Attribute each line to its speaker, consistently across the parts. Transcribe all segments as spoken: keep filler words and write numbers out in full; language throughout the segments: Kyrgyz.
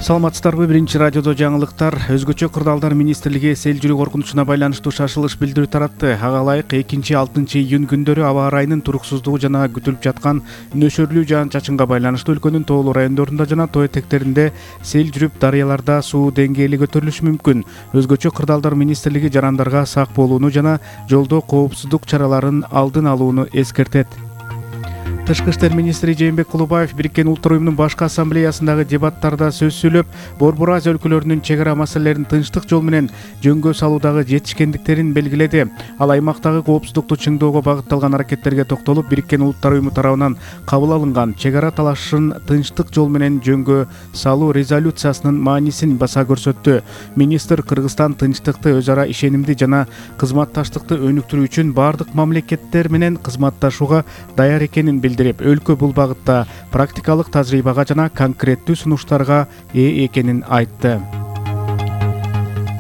Speaker 1: Саламатсыздарбы? Биринчи радиодо жаңылыктар. Өзгөчө кырдаалдар министрлиги сел жүрүү коркунучуна байланыштуу шашылыш билдирүү таратты. Ага ылайык экинчи алтынчы июнь күндөрү аба ырайынын туруксуздугу жана күтүлүп жаткан нөшөрлүү жаан-чачынга байланыштуу өлкөнүн тоолуу райондорунда жана тоо этектеринде сел жүрүп, дарыяларда суу деңгээли көтөрүлүшү мүмкүн. Өзгөчө кырдаалдар министрлиги жарандарга сак болууну жана жолдо коопсуздук чараларын алдын алууну эскертет. Тышкы иштер министри Жээнбек Кулубаев Бириккен Улуттар уюмунун башкы ассамблеясындагы дебаттарда сөз сүйлөп, Борбор Азия өлкөлөрүнүн чек ара маселелерин тынчтык жол менен жөнгө салуудагы жетишкендиктерин белгиледи. Ал аймактагы коопсуздукту чыңдоого багытталган аракеттерге токтолуп, Бириккен Улуттар уюму тарабынан кабыл алынган чек ара талашын тынчтык жол менен жөнгө салуу резолюциясынын маанисин баса көрсөттү. Министр Кыргызстан тынчтыкты, өз ара ишенимди жана кызматташтыкты өнүктүрүү үчүн бардык мамлекеттер менен кызматташууга даяр экенин билдирди. Өлкө бул багытта практикалык тажрыйбага жана конкреттүү сунуштарга ээ экенин айтты.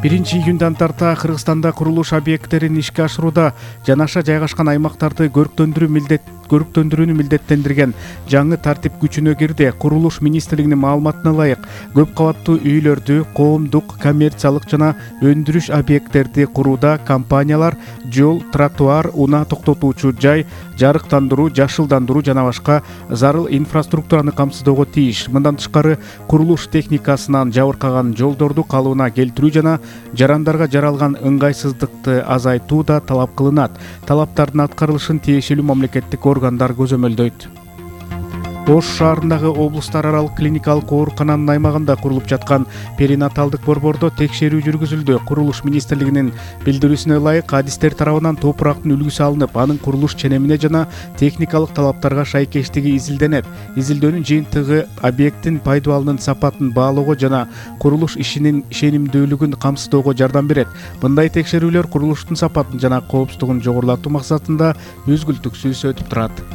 Speaker 1: биринчи июндан тарта Кыргызстанда курулуш объекттерин ишке ашырууда жанаша жайгашкан аймактарды көрктөндүрүү милдет көрктөндүрүүнү милдеттендирген жаңы тартип күчүнө кирди. Курулуш министрлигинин маалыматына ылайык, көп кабаттуу үйлөрдү, коомдук, коммерциялык жана өндүрүш объекттерди курууда компаниялар жол, тротуар, унаа токтотуучу жай, жарыктандыруу, жашылдандыруу жана башка зарыл инфраструктураны камсыздоого тийиш. Мындан тышкары, курулуш техникасынан жабыркаган жолдорду калыбына келтирүү жана жарандарга жаралган ыңгайсыздыкты азайтуу да талап кылынат. Талаптардын аткарылышын тиешелүү мамлекеттик органдар көзөмөлдөйт. Ош шаарындагы облустар аралык клиникалык оорукананын аймагында курулуп жаткан перинаталдык борбордо текшерүү жүргүзүлдү. Курулуш министрлигинин билдирүүсүнө ылайык, адистер тарабынан топурактын үлгүсү алынып, анын курулуш ченемине жана техникалык талаптарга шайкештиги изилденет. Изилдөөнүн жыйынтыгы объекттин пайдубалынын сапатын баалоого жана курулуш ишинин ишенимдүүлүгүн камсыздоого жардам берет. Мындай текшерүүлөр курулуштун сапатын жана коопсуздугун жогорулатуу максатында үзгүлтүксүз өтүп турат.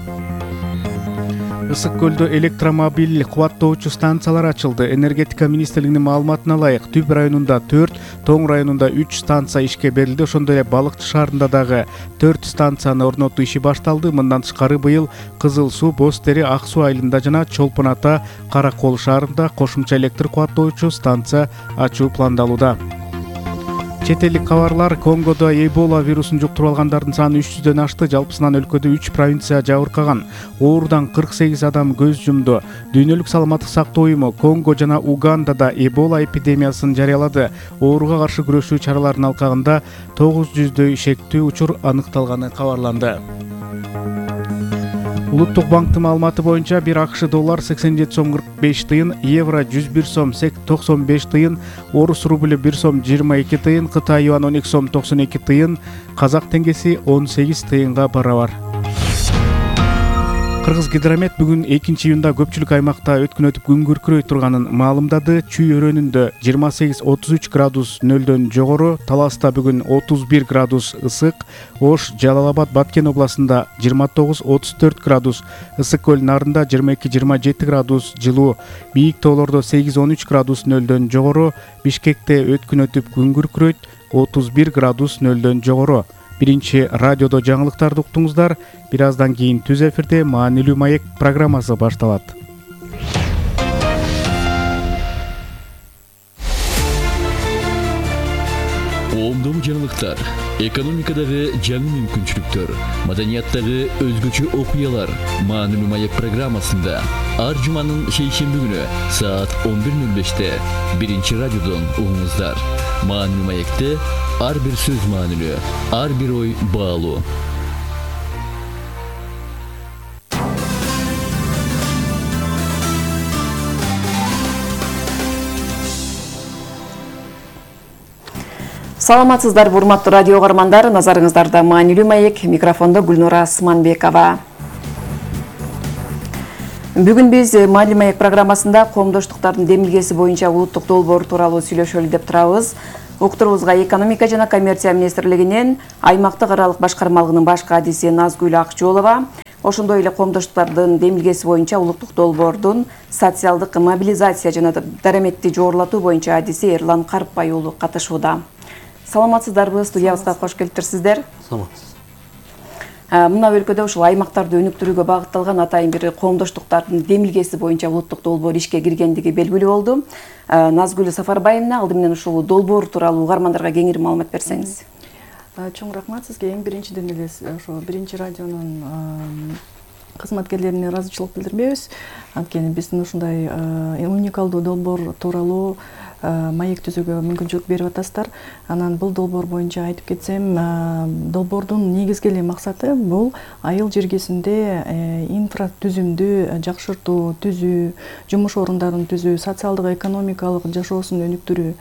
Speaker 1: Ысык көлдө электромобиль кубаттоочу станциялар ачылды. Энергетика министрлигинин маалыматына ылайык, Түп районунда төрт, Тоң районунда үч станция ишке берилди. Ошондой эле Балыкчы шаарында дагы төрт станцияны орнотуу иши башталды. Мындан тышкары быйыл Кызыл суу, Боз Тери, Ак суу айылында жана Чолпон Ата, Каракол шаарында кошумча электр кубаттоочу станция ачуу пландалууда. Чет элдик кабарлар. Конгодо Эбола вирусун жуктуруп алгандардын саны үч жүздөн ашты. Жалпысынан өлкөдө үч провинция жабыркаган. Оорудан кырк сегиз адам көз жумду. Дүйнөлүк саламаттык сактоо уюму Конго жана Угандада Эбола эпидемиясын жарыялады. Ооруга каршы күрөшүү чараларынын алкагында тогуз жүздөй шектүү учур аныкталганы кабарланды. Улуттук банктын маалыматы боюнча бир АКШ доллар сексен жети сом кырк беш тыйын, евро жүз бир сом токсон беш тыйын, орус рубль бир сом жыйырма эки тыйын, Кытай юан он эки сом токсон эки тыйын, казак теңгеси он сегиз тыйынга барабар. Кыргыз гидромет бүгүн экинчи июнда көпчүлүк аймакта өткүн өтүп күн күркүрөй турганын маалымдады. Чүй өрөөнүндө жыйырма сегиз отуз үч градус нөлдөн жогору, Таласта бүгүн отуз бир градус ысык, Ош, Жалал Абад, Баткен областында жыйырма тогуз отуз төрт градус, Ысык көл Нарында жыйырма эки жыйырма жети градус жылуу, бийик тоолордо сегиз он үч градус нөлдөн жогору, Бишкекте өткүн өтүп күн күркүрөйт, отуз бир градус нөлдөн жогору. Биринчи радиодо жаңылыктарды уктуңуздар. Бир аздан кийин түз эфирде маанилүү маек программасы башталат.
Speaker 2: Оомдуу жаңылыктар, экономикадагы жаңы мүмкүнчүлүктөр, маданияттагы өзгөчө окуялар маанилүү маек программасында ар жуманын шейшемби күнү саат он бир нөл беште биринчи радиодон угуңуздар. Маанилүү маекте ар бир сөз маанилүү, ар бир ой баалуу.
Speaker 3: Саламатсыздар, урматтуу радио угармандар. Назарыңыздарда маанилүү маек, микрофондо Гүлнура Сманбекова. Бүгүн биз маанилүү маек программасында коомдоштуктардын демилгеси боюнча улуттук долбоор тууралуу сүйлөшөлү деп турабыз. Уктурубузга экономика жана коммерция министрлигинен аймактык аралык башкармалыгынын баш кадиси Назгүл Акчолова, ошондой эле коомдоштуктардын демилгеси боюнча улуттук долбоордун социалдык мобилизация жана дараметти жогорулатуу боюнча адиси Эрлан Карпбай уулу катышууда. Саламатсыздарбы? Студиябызга кош келиптирсиздер.
Speaker 4: Саламатсыз.
Speaker 3: Мына өлкөдө ушул аймактарды өнүктүрүүгө багытталган атайын бир коомдоштуктардын демилгеси боюнча улуттук долбоор ишке киргендиги белгилүү болду. Назгүл Сафарбаевна, алды менен ушул долбоор тууралуу угармандарга кеңири маалымат берсеңиз.
Speaker 4: Чоң рахмат сизге. Эң биринчиден эле ошо биринчи радионун кызматкерлерине ыраазычылык билдирбейбиз. Анткени биздин ушундай уникалдуу долбоор тууралуу маек түзүүгө мүмкүнчүлүк берип атасыздар. Анан бул долбоор боюнча айтып кетсем, долбоордун негизги эле максаты бул айыл жергесинде инфра түзүмдү жакшыртуу, түзүү, жумуш орундарын түзүү, социалдык экономикалык жашоосун өнүктүрүү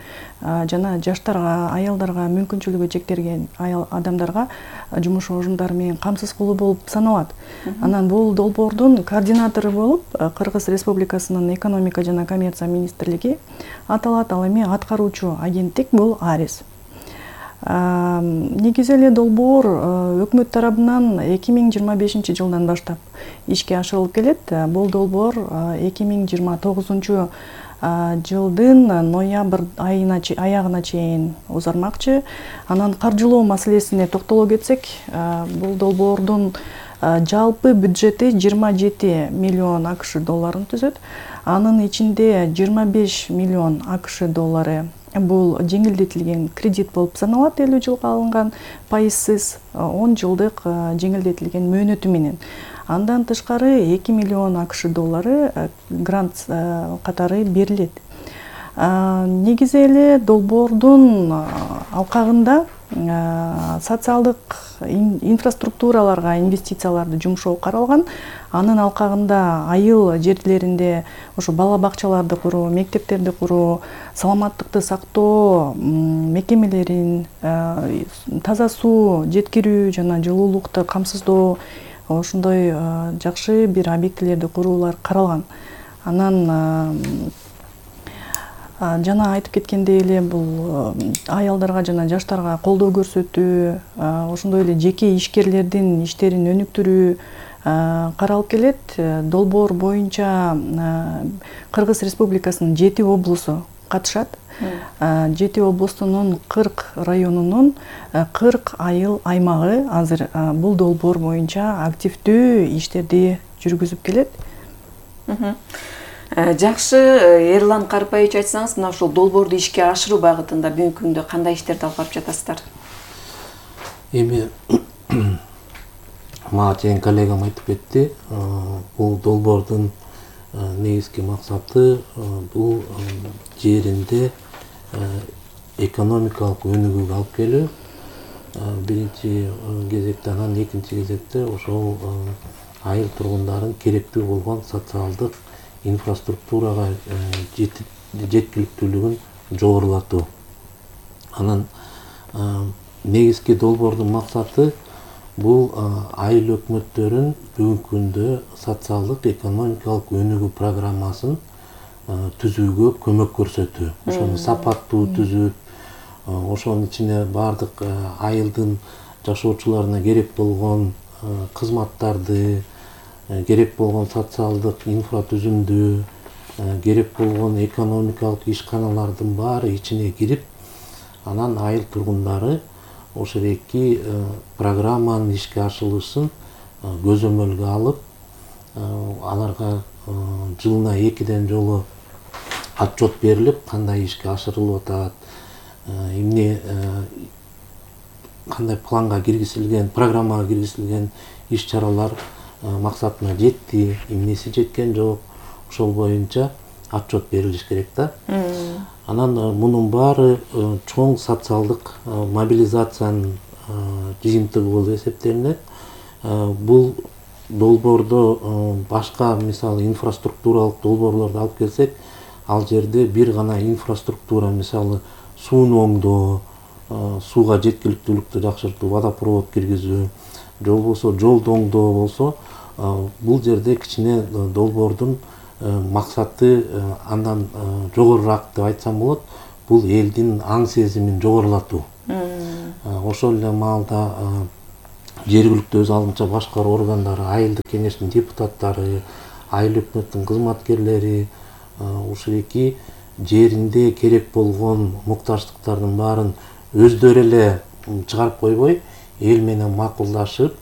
Speaker 4: жана жаштарга, аялдарга, мүмкүнчүлүгү чектелген аял адамдарга жумуш орундары менен камсыз кылуу болуп саналат. Анан бул долбоордун координатору болуп Кыргыз Республикасынын экономика жана коммерция министрлиги аталат. Ал эми аткаруучу агенттик бул АРИС. Негизи эле долбоор өкмөт тарабынан эки миң жыйырма бешинчи жылдан баштап ишке ашырылып келет. Бул долбоор эки миң жыйырма тогузунчу жылдын ноябрь айына аягына чейин узармакчы. Анан каржылоо маселесине токтоло кетсек, бул долбоордун жалпы бюджети жыйырма жети миллион АКШ долларын түзөт. Анын ичинде жыйырма беш миллион АКШ доллары бул жеңилдетилген кредит болуп саналат, элүү жылга алынган пайызсыз он жылдык жеңилдетилген мөөнөтү менен. Андан тышкары эки миллион АКШ доллары грант катары берилет. Негизи эле долбоордун алкагында социалдык инфраструктураларга инвестицияларды жумшоо каралган. Анын алкагында айыл жерлеринде ошо бала бакчаларды куруу, мектептерди куруу, саламаттыкты сактоо мекемелерин, таза суу жеткирүү жана жылуулукту камсыздоо, ошондой жакшы бир объектилерди куруулар каралган. Анан жана айтып кеткендей эле бул аялдарга жана жаштарга колдоо көрсөтүү, ошондой эле жеке ишкерлердин иштерин өнүктүрүү каралып келет. Долбоор боюнча Кыргыз Республикасынын жети облусу катышат. жети облустунун кырк районунун кырк айыл аймагы азыр бул долбоор боюнча активдүү иштерди жүргүзүп келет.
Speaker 3: Жакшы, Эрлан Карпаевич, айтсаңыз, мына ушул долбоорду ишке ашыруу багытында бүгүнкү күндө кандай иштерди алып барып жатасыздар?
Speaker 5: Эми мага чейин коллегам айтып кетти, бул долбоордун негизги максаты бул жеринде экономикалык өнүгүүгө алып келүү. Биринчи кезекте, анан экинчи кезекте ошол айыл тургундарын керектүү болгон социалдык инфраструктурага жеткиликтүүлүгүн жогорулатуу. Анан негизги долбоордун максаты бул айыл өкмөттөрүн бүгүнкү күндө социалдык экономикалык өнүгүү программасын түзүүгө көмөк көрсөтүү. Ошону сапаттуу түзүп, ошонун ичине бардык айылдын жашоочуларына керек болгон кызматтарды, керек болгон социалдык инфра түзүмдү, керек болгон экономикалык ишканалардын баары ичине кирип, анан айыл тургундары ошол эки программанын ишке ашырылышын көзөмөлгө алып, аларга жылына экиден жолу отчет берилип, кандай ишке ашырылып атат, эмне кандай планга киргизилген, программага киргизилген иш-чаралар максатына жетти, эмнеси жеткен жок, ошол боюнча отчет берилиш керек да. Анан мунун баары чоң социалдык мобилизациянын жыйынтыгы болуп эсептелинет. Бул долбоордо башка, мисалы, инфраструктуралык долбоорлорду алып келсек, ал жерде бир гана инфраструктура, мисалы, сууну оңдоо, сууга жеткиликтүүлүктү жакшыртуу, водопровод киргизүү, же болбосо жолду оңдоо болсо, бул жерде кичине долбоордун максаты андан жогорураак деп айтсам болот. Бул элдин аң сезимин жогорулатуу. Ошол эле маалда жергиликтүү өз алдынча башкаруу органдары, айылдык кеңештин депутаттары, айыл өкмөттүн кызматкерлери ушул эки жеринде керек болгон муктаждыктардын баарын өздөрү эле чыгарып койбой, эл менен макулдашып,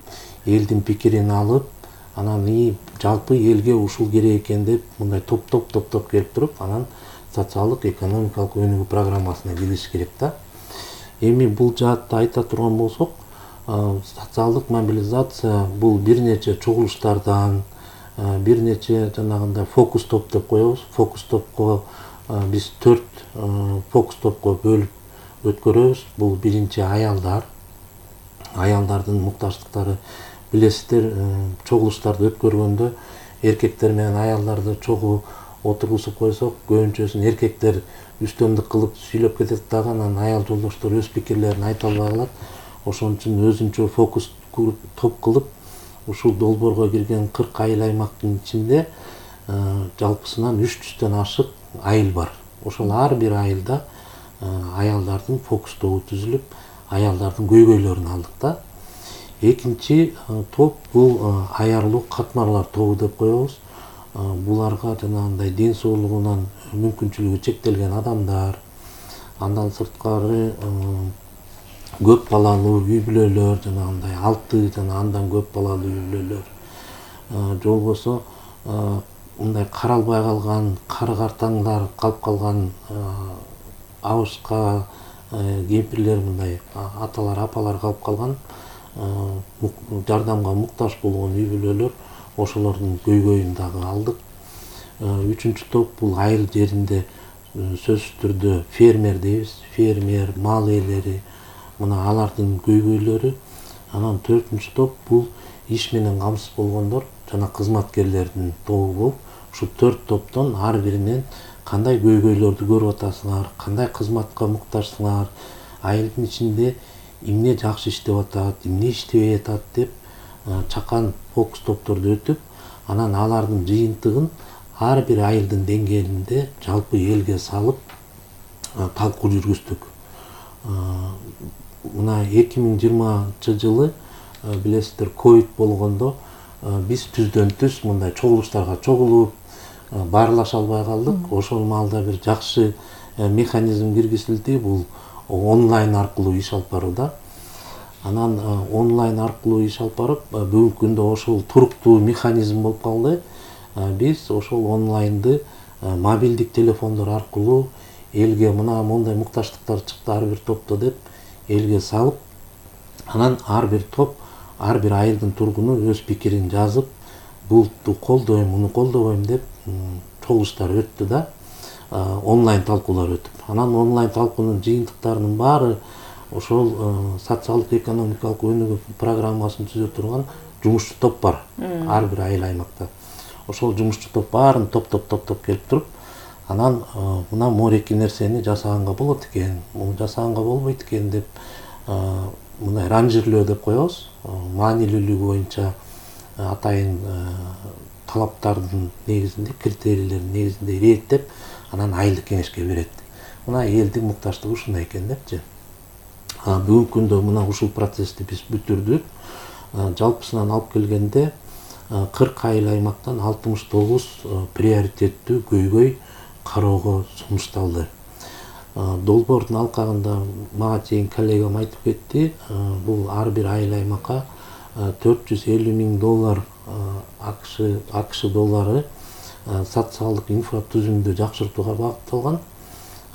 Speaker 5: элдин пикирин алып, анан и жалпы элге ушул керек экен деп мындай топ-топ топ-топ келип туруп, анан социалдык экономикалык өнүгүү программасына кириш керек да. Эми бул жаатта айта турган болсок, социалдык мобилизация бул бир нече чогулуштардан, бир нече жанагындай фокус топ деп коебуз. Фокус топко биз төрт фокус топко бөлүп өткөрөбүз. Бул биринчи аялдар, аялдардын муктаждыктары. Билесиздер, чогулуштарды өткөргөндө эркектер менен аялдарды чогуу отургузуп койсок, көбүнчөсүн эркектер үстөмдүк кылып сүйлөп кетет дагы, анан аял жолдоштор өз пикирлерин айта албай калат. Ошон үчүн өзүнчө фокус топ кылып, ушул долбоорго кирген кырк айыл аймактын ичинде жалпысынан үч жүздөн ашык айыл бар. Ошол ар бир айылда аялдардын фокус тобу түзүлүп, аялдардын көйгөйлөрүн алдык да. Экинчи топ бул аярлуу катмарлар тобу деп коебуз. Буларга жанагындай ден соолугунан мүмкүнчүлүгү чектелген адамдар, андан сырткары көп балалуу үй бүлөлөр, жанагындай алты жана андан көп балалуу үй бүлөлөр, же болбосо мындай каралбай калган кары картаңдар калып калган абышка кемпирлер, мындай аталар, апалар калып калган, жардамга муктаж болгон үй бүлөлөр, ошолордун көйгөйүн дагы алдык. Үчүнчү топ бул айыл жеринде сөзсүз түрдө фермер дейбиз, фермер, мал ээлери, мына алардын көйгөйлөрү. Анан төртүнчү топ бул иш менен камсыз болгондор жана кызматкерлердин тобу болуп, ушу төрт топтон ар биринен кандай көйгөйлөрдү көрүп атасыңар, кандай кызматка муктажсыңар, айылдын ичинде эмне жакшы иштеп атат, эмне иштебей атат деп чакан фокус топторду өтүп, анан алардын жыйынтыгын ар бир айылдын деңгээлинде жалпы элге салып талкуу жүргүздүк. Мына эки миң жыйырманчы жылы билесиздер ковид болгондо биз түздөн түз мындай чогулуштарга чогулуп баарлаша албай калдык. Ошол маалда бир жакшы механизм киргизилди, бул онлайн аркылуу иш алып барууда. Анан онлайн аркылуу иш алып барып, бүгүнкү күндө ошол туруктуу механизм болуп калды. Биз ошол онлайнды мобилдик телефондор аркылуу элге мына мондай муктаждыктар чыкты ар бир топто деп элге салып, анан ар бир топ, ар бир айылдын тургуну өз пикирин жазып, булту колдойм, муну колдобойм деп чогулуштар өттү да, онлайн талкуулар өтүп. Анан онлайн талкуунун жыйынтыктарынын баары ошол социалдык экономикалык өнүгүү программасын түзө турган жумушчу топ бар ар бир айыл аймакта. Ошол жумушчу топ баарын топ-топ-топ-топ келип туруп, анан мына мореки нерсени жасаганга болот экен, муну жасаганга болбойт экен деп мындай ранжирлөө деп коебуз. Маанилүүлүгү боюнча атайын талаптардын негизинде, критерийлердин негизинде иреттеп, анан айылдык кеңешке берет. Мына элдин муктаждыгы ушундай экен депчи. Бүгүнкү күндө мына ушул процессти биз бүтүрдүк. Жалпысынан алып келгенде кырк айыл аймактан алтымыш тогуз приоритеттүү көйгөй кароого сунушталды. Долбоордун алкагында мага чейин коллегам айтып кетти, бул ар бир айыл аймакка төрт жүз элүү миң доллар АКШ доллары социалдык инфратүзүмдү жакшыртууга багытталган.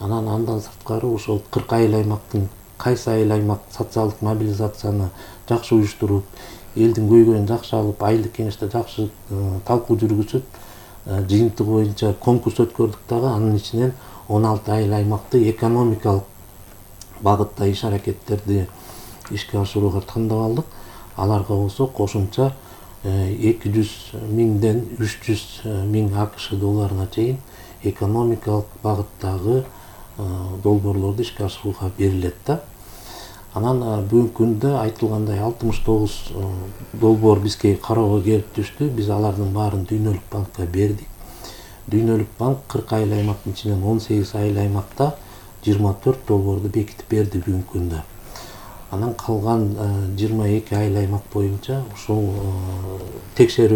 Speaker 5: Анан андан сырткары ошол кырк айыл аймактын кайсы айыл аймак социалдык мобилизацияны жакшы уюштуруп, элдин көйгөйүн жакшы алып, айылдык кеңеште жакшы талкуу жүргүзүп, жыйынтыгы боюнча конкурс өткөрдүк дагы. Анын ичинен он алты айыл аймакты экономикалык багытта иш аракеттерди ишке ашырууга тандап алдык. Аларга болсо кошумча эки жүз миңден үч жүз миң АКШ долларына чейин экономикалык багыттагы долбоорлорду ишке ашырууга берилет да. Анан бүгүнкү күндө айтылгандай алтымыш тогуз долбоор бизге кароого келип түштү. Биз алардын баарын Дүйнөлүк банкка бердик. Дүйнөлүк банк кырк айыл аймактын ичинен он сегиз айыл аймакта жыйырма төрт долбоорду бекитип берди бүгүнкү күндө. Анан калган жыйырма эки айыл аймак боюнча ушул текшерүү